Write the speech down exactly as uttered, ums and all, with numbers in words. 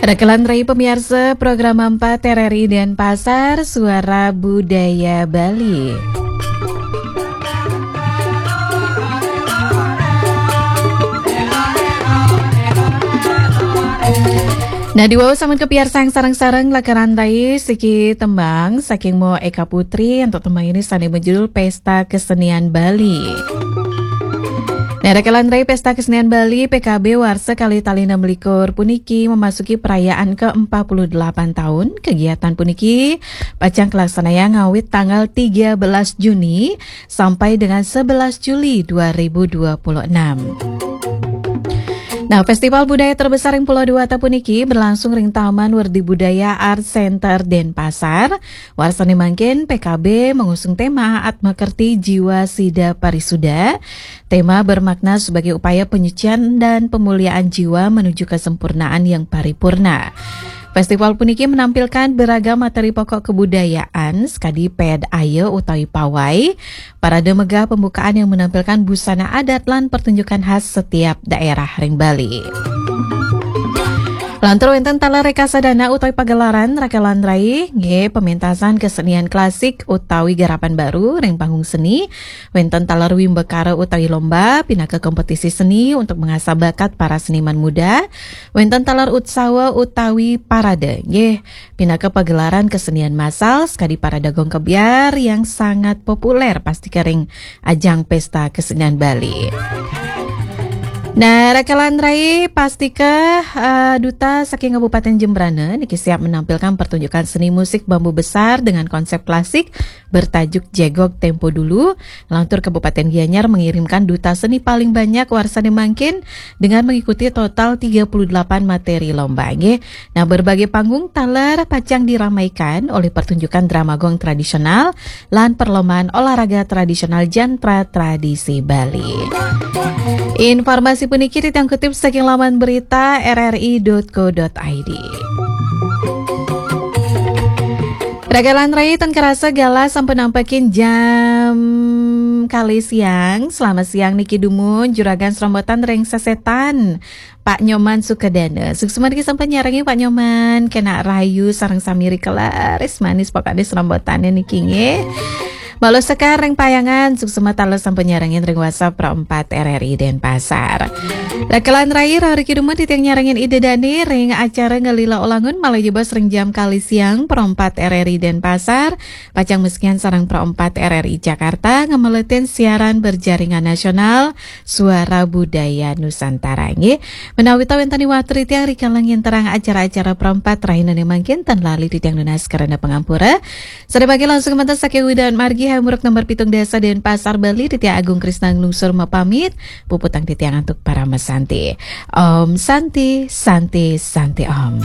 Rekelan rai pemirsa program empat R R I Denpasar, Suara Budaya Bali. Nah, diwau sampun kapiarsang sareng-sareng rekelan rai siki tembang saking Mo Eka Putri untuk tembang ini sane berjudul Pesta Kesenian Bali. Nah, rekelan rai Pesta Kesenian Bali P K B warsa kali tali enam likur puniki memasuki perayaan ke empat puluh delapan tahun. Kegiatan puniki pacang kalaksanayang ngawit tanggal tiga belas Juni sampai dengan sebelas Juli dua ribu dua puluh enam. Nah, festival budaya terbesar ring Pulau Dewata puniki berlangsung ring Taman Werdi Budaya Art Center Denpasar. Warsane mangkin P K B mengusung tema Atma Kerti Jiwa Sida Parisuda. Tema bermakna sebagai upaya penyucian dan pemuliaan jiwa menuju kesempurnaan yang paripurna. Festival puniki menampilkan beragam materi pokok kebudayaan, sekadi ped ayo utawi pawai, parade megah pembukaan yang menampilkan busana adat lan pertunjukan khas setiap daerah ring Bali. Lantur wenten taler rekasadana utawi pagelaran rekelan rai, nggih, pementasan kesenian klasik utawi garapan baru ring panggung seni, wenten taler wimbakara utawi lomba pinaka kompetisi seni untuk mengasah bakat para seniman muda, wenten taler utsawa utawi parade, nggih, pinaka pagelaran kesenian massal sekadi parade gong kebyar yang sangat populer pastika ring ajang Pesta Kesenian Bali. Nah, rekelan rai pastika, eh, duta saking Kabupaten Jembrana niki siap menampilkan pertunjukan seni musik bambu besar dengan konsep klasik bertajuk Jegog Tempo Dulu. Lantur Kabupaten Gianyar mengirimkan duta seni paling banyak warsane mangkin dengan mengikuti total tiga puluh delapan materi lomba, nggih. Nah, berbagai panggung taler pacang diramaikan oleh pertunjukan drama gong tradisional lan perlombaan olahraga tradisional jantra tradisi Bali. Informasi puniki titiang kutip saking laman berita R R I dot co dot I D. Rekelan rai, ten kerasa galah sampun nampekin jam kali siang. Selamat siang niki dumun, juragan serombotan ring sesetan. Pak Nyoman Sukadana. Suksma niki sampun nyarengin Pak Nyoman, kena rayu sareng sami ri kelaris manis pokokne serombotane niki nggih. Malu sekar ring payangan, suksma taler sampun nyarengin ring WhatsApp Pro empat R R I Denpasar. Rekelan rai, rauh riki dumun titiang nyarengin Ida Dane ring acara Ngelila Olangun malih jebos ring jam kali siang Pro empat R R I Denpasar. Pacang masikian sareng Pro empat R R I Jakarta ngemeletin siaran berjaringan nasional Suara Budaya Nusantara, nggih. Menawi ta wenten iwatu titiang rikala nginterang acara-acara Pro empat rahinane mangkin, ten lali titiang nunas karana pangampura. Sare mangkin langsung manten saking Widawat Margi Hamburg nomor pitung dasa Denpasar Bali, titiang Agung Krisna nglungsur mapamit. Puputang titiang antuk parama santi. Om Santi, Santi, Santi Om.